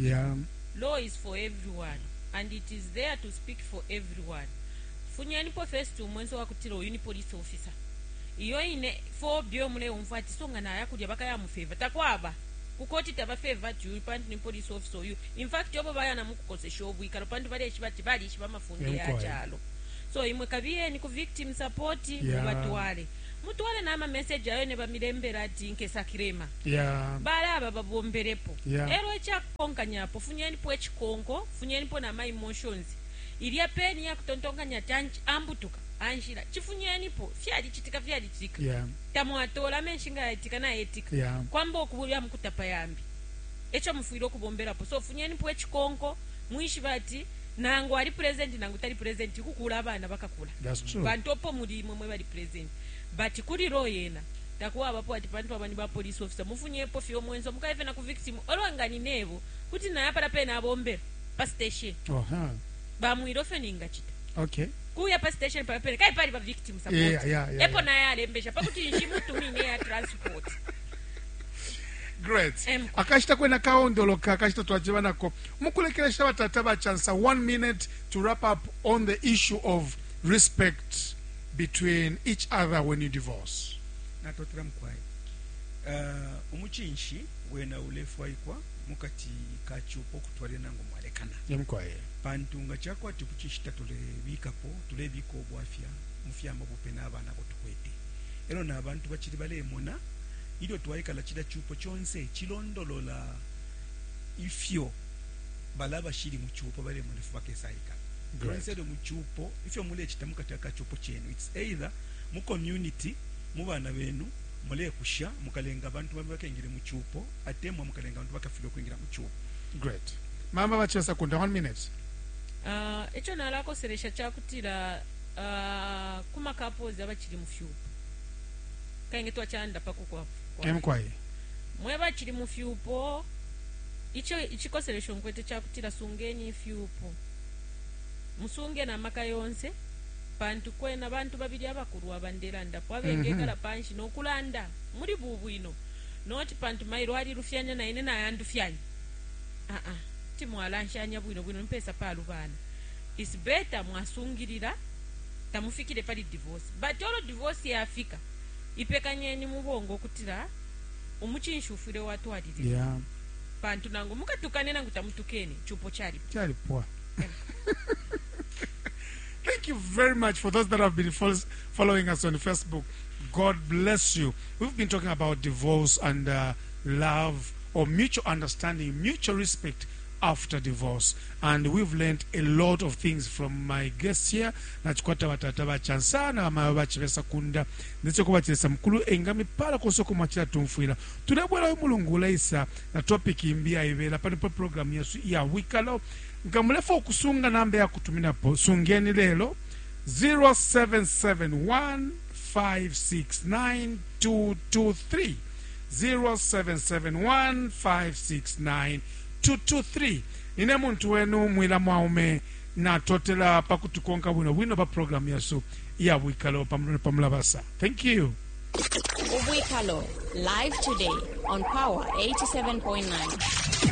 law is for everyone and it is there to speak for everyone. Funyani po first umwenzo wakutira uyu ni police officer. Iyo ine phobia muleumfwa ati so nga naya kulya bakayamufeva takwaba kukoti tabafeva ati uyu pantu ni police officer uyu. In fact obo baya na mukukosesha obwikalo pantu baleshiba ati balishiba amafunde ya chalo. So imwe kabiyeni ku victim support mubatwale. Mutwale nama message ayo ne bamilembera ati nkesa kirema. Balaba babomberepo. Ero ekyakukonkanyapo funyenipo ekikonko, funyenipo nama emotions. Ilya peni yakutontonkanya ati ambutuka anshila chifunyenipo fyalichitika fyalichitika. Tamwatola amenshi nga yatika na yetika. Kwamba okubulya mukutapa yambi. Echo mufwire okubomberapo. So funyenipo ekikonko mwishiba ati nangu ali present nangu tali present kukula abana bakakula. That's true. Bantu opo muli imwe mwe bali present. But kuli law yena takuwa abapo ati pantu abani ba police officer mufunyepo fyo mwenzo mukaife na ku victim olwanga ni nebo kuti naye apala pena abombera pa station. Bamwiro fyo ningachita. Kuya pa station pa pena kai pali ba victim support. Epo naye alembesha pakuti nshimutumine ya transport. Great. Akashita kwena kaondoloka akashita twachiba nako mukulekelesha batata ba chance 1 minute to wrap up on the issue of respect between each other when you divorce. Natotela mukwai. Umuchinshi wena ulefwaikwa mukati kachupo kutwalira nangu mwalekana. Yemkwaye. Pantu nga chakwati kuchishita tulebikapo tulebika obwafya mufyama bupe n'abana bo tukwete. Ero n'abantu bakiri balemona ilyo twaikala chila chupo chonse chilondolola ifyo balaba shiri mu chupo balemona ifu bakesaika. Lyonse mu chupo ifyo mulechita mukati akachupo chenu it's either mu community mu bana benu mulekusha mukalenga abantu bamwe bakengire mu chupo atemwa mukalenga abantu bakafira kwingira mu chupo. Great. Mama bachesa kunda 1 minute. Echo nalakoselesha chakutira kuma couples abachiri mu fyupo. Kainge twachanda pakukwa. Emkwaye. Mwe bachiri mu fyupo icho ichikoselesho nkwete chakutira sungeni fyupo. Musunge na maka yonse pantu kwena bantu babiri abakuru abandelanda po abengekala panshi nokulanda muri bubwino noti pantu mairo ali rufyanya na ine nayandu fyanya timwalanshanya bwino bwino mpesa palubana. It's better mwasungirira tamufikire pali divorce but olo divorce yafika ipekanyeni mubongo kutira umuchinshi ufire watwalirira. Pantu nangu mukatukane nangu tamutukene chupo chali chalipwa. Thank you very much for those that have been following us on Facebook. God bless you. We've been talking about divorce and love or mutual understanding, mutual respect after divorce. And we've learned a lot of things from my guests here. Nachikwata batata bachansana bamayo bachibesa kunda ndetse kubachiresa mukulu engami pala kosoko mwachira tumfwira tulebwera mulungu ulaisa na topic imbi aibera pano pa program yesu ya wikalo ngamulefa okusunga namba ya kutuminapo sungeni lelo 0771 569 223 0771 569 223 nine muntu wenu mwila mwaume natotela pakutukonka bwino bwino pa program yasu ya wikalo pamulabasa. Thank you. Ubwikalo live today on Power 87.9.